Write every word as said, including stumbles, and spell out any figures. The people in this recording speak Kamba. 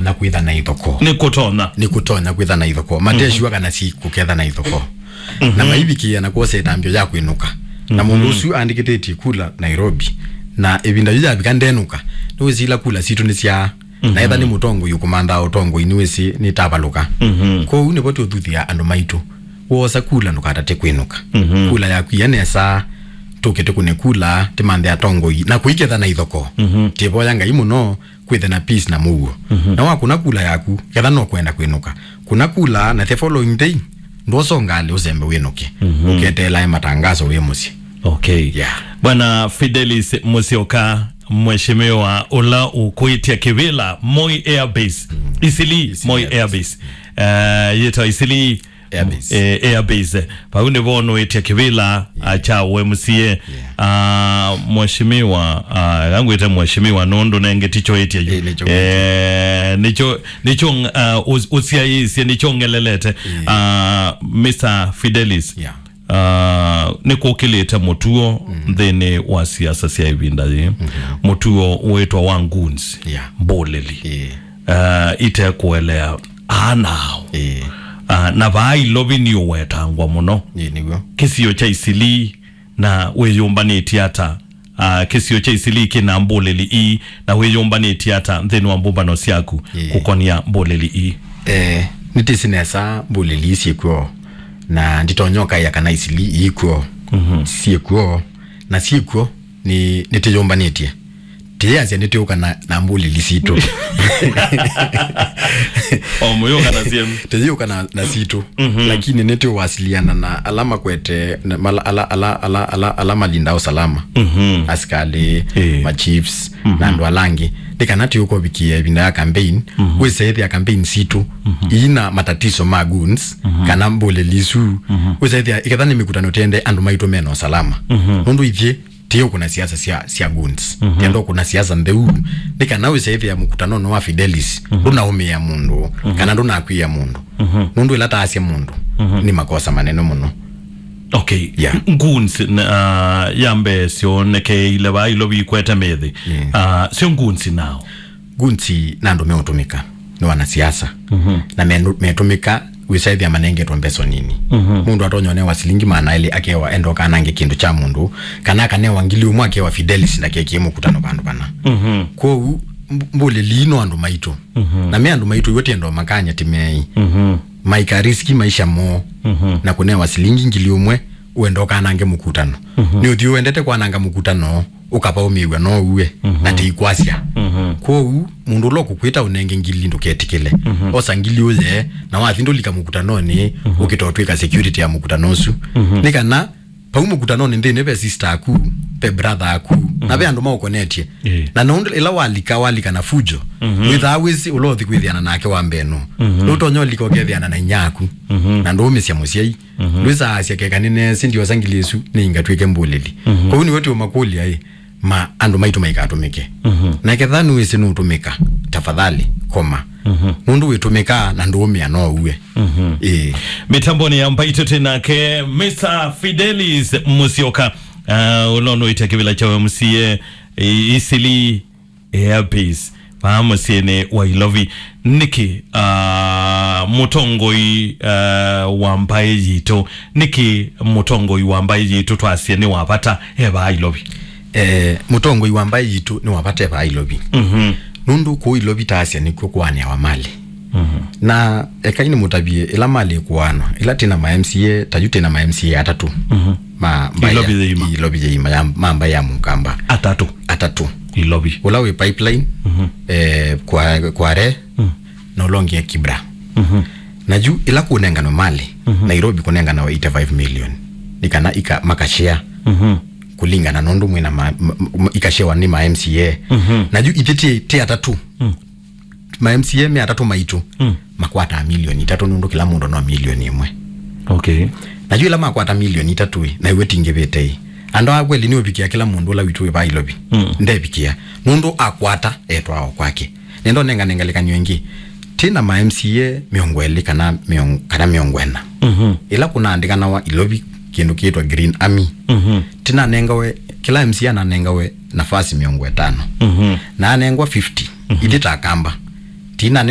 na kwĩtha na ithokoo. Nĩ kũtonya. Nĩ kũtonya kwĩtha na ithokoo. Mateshiwa kana si kũketha na ithokoo. Na maivikĩĩa na kwosa ĩtambyo ya kwĩnũka. Na mũndũ ũsu andĩkĩtĩtye kula Nairobi. Na ĩvinda yu yavika ndenũka. Nĩwĩsĩ ila kula sitũ nĩ sya. Na etha nĩ mũtongoi ũkũmanthaa ũtongoi nĩwĩsĩ nĩtavalũka. Kwoou nĩvo tũthuthĩa andũ maitũ. Woosa kula ndũkatate kwĩnũka. Kula yaku ia nesa, tũke tũkũne kula, tĩmanthe atongoi, na kũiketha na ithokoo. Tĩvoya Ngai mũno, kwĩthe na peace na mũuo. Na wakũna kula yaku, ketha no kwenda kwĩnũka. Kũna kula na the following day, ndwosa ngalĩ ũsembe wĩnũke. Ũketeelae matangazo wĩ mũsyĩ. Okay. Yeah. Bwana Fidelis Musyoka, mheshimiwa ũla ũkwĩtya kĩvĩla Moi Air Base. Isili, Isili Moi Air Base. Air Base. Eh, yĩtawa Isili Air Base. Eh, Air Base. Vau nĩvo nũĩtya kĩvĩla, ah, kya U M C A. Ah, mheshimiwa, ah, ngangwĩte mheshimiwa nũndũ nenge ticho ĩtya yu. Eh, nĩcho Eh, nĩcho, nĩcho, ah, ũs-, ũsyaĩĩsye, nĩcho ng'elelete. Ah, Mister Fidelis. Yeah. Ah, nĩkũkĩlĩte mũtuo nthĩnĩ wa siasa sya ĩvinda yĩĩ. Mũtuo wĩtwa wa goons, Yeah. mbũlĩli. Yeah. Ah, itekũelea ana ao. Ĩĩ. Ah, na vaa Ilovi nĩ ũwetangwa mũno. Ĩĩ, nĩw'o. Kĩsio kya Isili na wĩyũmbanĩtye ata? Ah, kĩsio kya Isili kĩna mbũlĩli ii na wĩyũmbanĩtye ata nthĩnĩ wa mbũmbano syaku Ĩĩ. kũkonia mbũlĩli ii? Eh, nĩtĩsĩ nesa mbũlĩli ii syĩkw'o, na nditonya ũkaĩa kana Isili iikw'o. Mhm. Syĩkw'o, na syĩkw'o nĩ, nĩtĩyũmbanĩtye. Tĩyĩasya nĩtĩũka na, na mbũlĩli sitũ. O mũyũka na syenu. Tĩyĩũka na, na sitũ. Mhm. Lakini nĩtĩwasiliana na ala makwete, na mala-, ala, ala, ala, ala, ala malinda usalama. Mhm. Asikalĩ, Ĩĩ. ma chiefs, Mhm. na andũ ala angĩ. Nĩ kana tĩũkovikia ĩvinda ya campaign, Mhm. wĩsaĩthĩa campaign sitũ, Mhm. ina matatiso ma goons, Mhm. kana mbũlĩli isu. Mhm. Wĩsaĩthĩa, iketha nĩ mĩkutano tende andũ maitũ mena usalama. Mhm. Nũndũ ithyĩ, tĩũkũna siasa sya, sya goons. Mhm. Tĩenda ũkũna siasa ntheu. Nĩ kana wĩsaĩthĩa mũkutanonĩ wa Fidelis, Mhm. ndũnaũmĩa mũndũ, Mhm. kana ndũnakwĩa mũndũ. Mhm. Nũndũ ĩla taasya mũndũ, Mhm. nĩ makosa manene mũno. Okay. Yeah. Goons, n-, ah, ya mbee syonekeile vaa Ilovi ikwete mĩthĩ. Yeah. Ah, syo goons nao. Goons na andũ meũtũmĩka nĩ wanasiasa. Mhm. Na menũ-, metũmĩka wĩsaĩthĩa manengetwe mbeso nini. Mhm. Mũndũ atonya ũnewa silingi maana elĩ akewa endoka anange kĩndũ kya mũndũ, kana akanewa ngili ũmwe akewa Fidelis ndakekie mũkutano vandũ vana. Mhm. Kwoou mb-, mbũlĩli no andũ maitũ. Mhm. Na me andũ maitũ iwe tiendo makanya ti meĩ. Mhm. Maika riski maisha moo. Mhm. Na kũnewa silingi ngili ũmwe uendoka anange mũkutano. Mhm. Nĩ ũthiũ wendete kwananga mũkutano. Ũkavaũmĩw'a no ũue, Mhm. na tĩikwasya. Mhm. Kwoou, mũndũ ũla ũkũkwĩta ũnenge ngili ndũketĩkĩle. Mhm. Osa ngili ũye, na wathi ndũlika mũkutanonĩ, Mhm. ũkĩta ũtw'ĩka security ya mũkutano ũsu. Mhm. Nĩ kana, vau mũkutanonĩ nthĩnĩ ve sister aku, ve brother aku, na ve andũ maũkonetye. Ĩĩ. Na nũndũ ĩla walika, walika na fujo, Mhm. wĩthaa wĩsĩ ũla ũthi kwĩthĩana nake wa mbee nũ. Mhm. Nũtonya ũlika ũkethĩana na inya aku, Mhm. na ndũũmĩsya mũsyai. Mhm. Ndwĩsaasya keka nĩneesĩ ndiosa ngili ĩsu nĩingatw'ĩke mbũlĩli. Mhm. Kwoou nĩwe tũũmakũlya-ĩ, ma andũ maitũ maikatũmĩke. Mhm. Na ketha nĩwĩsĩ nũũtũmĩka, tafadhali, koma. Mhm. Nũndũ wĩtũmĩkaa na ndũũmĩa no ũue. Mhm. Ĩĩ. Mĩtambonĩ ya mbaitũ twĩ nake Mister Fidelis Musyoka. Uh, ũla ũnũĩte kĩvĩla kya U M C A, ĩ-, Isili Air Base vaa mũsyĩnĩ wa Ilovi. Nĩkĩ, ah, mũtongoi, ah, wa mbaĩ yitũ, nĩkĩ mũtongoi wa mbaĩ yitũ twasye nĩ wa vata e vaa Ilovi? Eh, mũtongoi wa mbaĩ yitũ nĩ wa vata e vaa Ilovi. Mhm. Nũndũ kũu Ilovi taasya nĩkw'o kũanĩawa malĩ. Mhm. Na ekai nĩmũtavye, ĩla malĩ ĩkũanwa, ĩla twĩ na ma M C A, ta yu twĩ na ma M C A atatũ. Mhm. Ma mbaĩ ya, Ilovi yĩima. Ilovi yĩima ya, ma mbaĩ ya Mũkamba. Atatũ. Atatũ. Ilovi. Ũla wĩ Pipeline, Mhm. eh, Kwa-, Kware, Mm. na ũla ũngĩ e Kibra. Mhm. Na yu ĩla kũnenganwe malĩ, Mhm. Nairobi kũnenganawa eighty-five million. Nĩ kana ika-, makashare Mhm. kũlingana nũndũ mwĩna ma-, ma-, ma-, ikashewa nĩ ma M C A. Mhm. Na yu ithyĩ ti, ti atatũ. Mm. Ma M C A me atatũ maitũ, Mm. makwataa milioni itatũ nũndũ kĩla mũndũ no milioni ĩmwe. Okay. Na yu ĩla makwata milioni itatũ ĩ, na iwe tingĩvĩte ĩ. Andũ a kweli nĩ ũvikĩa kĩla mũndũ ũla witũ wĩ vaa Ilovi. Mm. Ndevikĩa. Nũndũ akwata, etwaa o kwake. Nenda ũnengane ngelekany'o ĩngĩ. Twĩ na ma M C A mĩongo ĩlĩ kana mĩong-, kana mĩongo ĩna. Mhm. Ĩla kũnaandĩkanawa Ilovi kĩndũ kĩĩtwa Green Army. Mhm. Tinanengawe, kĩla M C A ananengawe nafasi mĩongo ĩtano. Mhm. Na anengwa fifty. Mhm. Ithyĩ ta Akamba. Tina nĩ